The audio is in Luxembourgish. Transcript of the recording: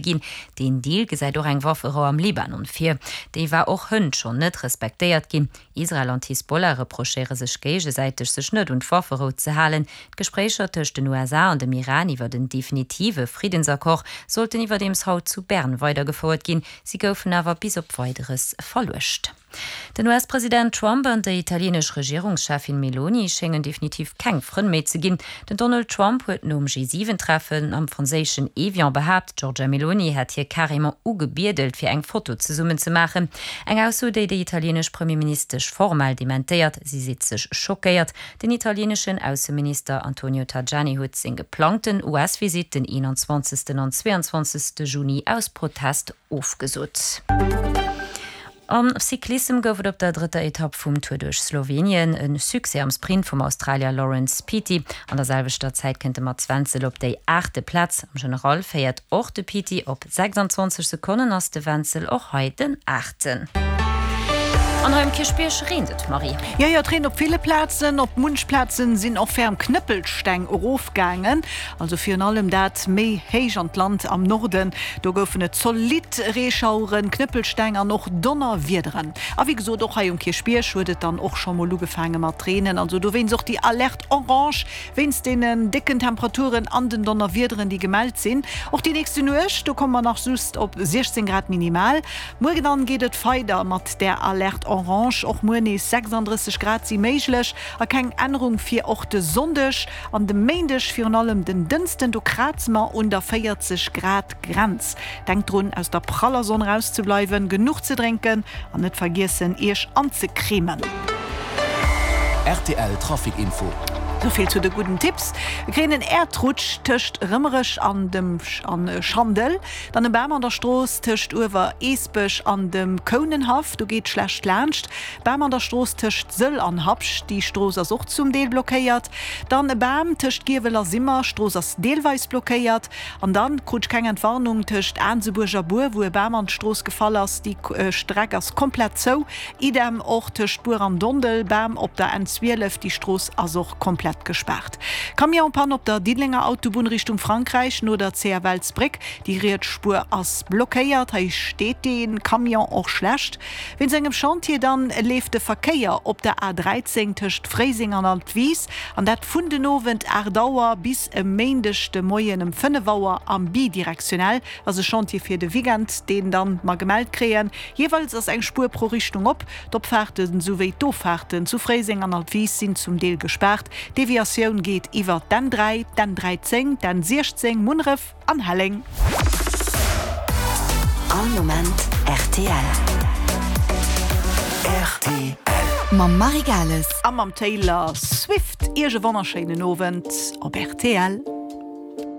Ginn. Deen Deal gesäit och eng Wafferou am Libanon vir. Déi war och hënt schonn net respektéiert ginn. Israel an d'Hisbollah reprochéiere sech géigesäiteg, sech net un d'Wafferou ze halen. D'Gespréicher tëscht den USA an dem Iran iwwert en definitive Friddensaccord sollten iwwerdeems haut zu Bern weidergefouert ginn. Si goufen awer bis op Weideres verluecht. Den US-President Trump an déi italienesch Regierungscheffin Meloni schéngen definitiv keng Frënn méi ze ginn. Den Donald Trump huet nom G7-Treffen am franséischen Evian behaapt, d'Giorgia Meloni hätt hie carrément ugebiedelt, fir eng Foto zesummen ze maachen. Eng Ausso, déi déi italienesch Premierministesch formell dementéiert. Si seet sech schockéiert. Den italieneschen Ausseminister Antonio Tajani huet seng geplangten US-Visitt den 21. an 22. Juni aus Protest ofgesot. Am Cyclissem gouf et op der drëtter Etapp vum Tour duerch Slowenien e Succès am Sprint vum Australier Laurence Pithie. An der selwechter Zäit kënnt de Mats Wenzel op déi aachte Plaz. Am General féiert och de Pithie. Op 26 Sekonnen ass de Wenzel och hei den Aachten. An hei um Kierchbierg reent et, Marie. Jo, jo, et reent op ville Plazen. Op munch Plazen sinn och ferm Knëppelsteng erofgaangen. Also virun allem dat méi héich an d'Land am Norden, do goufen et zolidd Reeschaueren, Knëppelsteng an och Donnerwiederen. A wéi gesot, och hei um Kierchbierg huet et dann och scho mol ugefaange mat reenen. Also dowéinst och déi Alerte orange wéinst deenen décken Temperaturen an den Donnerwiederen, déi gemellt sinn. Och déi nächste Nuecht, do komme mer nach just op 16 Grad minimal. Muer dann geet et weider mat där Alerte orange, och muer nees 36 Grad si méiglech a keng Ännerung fir och de Sonndeg. An de Méindeg, virun allem den Dënsten, do kraze mer un der 40 Grad Grenz. Denkt drun aus der praller Sonn rauszebleiwen, genuch ze drénken an net vergiessen iech anzecremen. Rtl Trafic Info. Souvill zu de gudden Tipps. Mir kréien en Äerdrutsch tëscht Rëmerech an dem an Schandel, dann e Bam an der Strooss tëscht Uewer-Eesbech an dem Kounenhaff, do geet schlecht laanscht. Bam an der Strooss tëscht Sëll an Habscht, déi Strooss ass och zum Deel blockéiert. Dann e Bam tëscht Giewel a Simmer, Strooss ass deelweis blockéiert. An dann krut ech keng Entwarnung tëscht Aansebuerg a Buer, wou e Bam an d'Strooss gefall ass, déi Streck ass komplett zou. Idem och tëscht Buer an Dondel, Bam op der N12, déi Strooss ass och komplett gespaart. Camion-Panne op der Diddelenger Autobunn Richtung Frankräich no der CFLsbréck, déi riets Spuer ass blockéiert. Hei steet dee Camion och schlecht. Wéinst engem Chantier dann leeft de Verkéier op der A 13 tëscht Fréiseng an Altwis, an dat vun den Owend 8 Auer bis e Méindeg de Moien ëm 5 Auer am bidirektionell. Ass e Chantier fir de Weekend, deen dann mer gemellt kréien. Jeeweils ass eng Spuer pro Richtung op. D'Opfaarten souwéi d'Offaarten zu Fréiseng an Altwis sinn zum Deel gespaart. D'Deviatioun geet iwwer d'N 3, d'N 13, d'N 16, Munneref. An Helleng. All Moment rtl. Rtl. Mam Marie Gales. A mam Taylor Swift. Iech e wonnerschéinen Owend op rtl.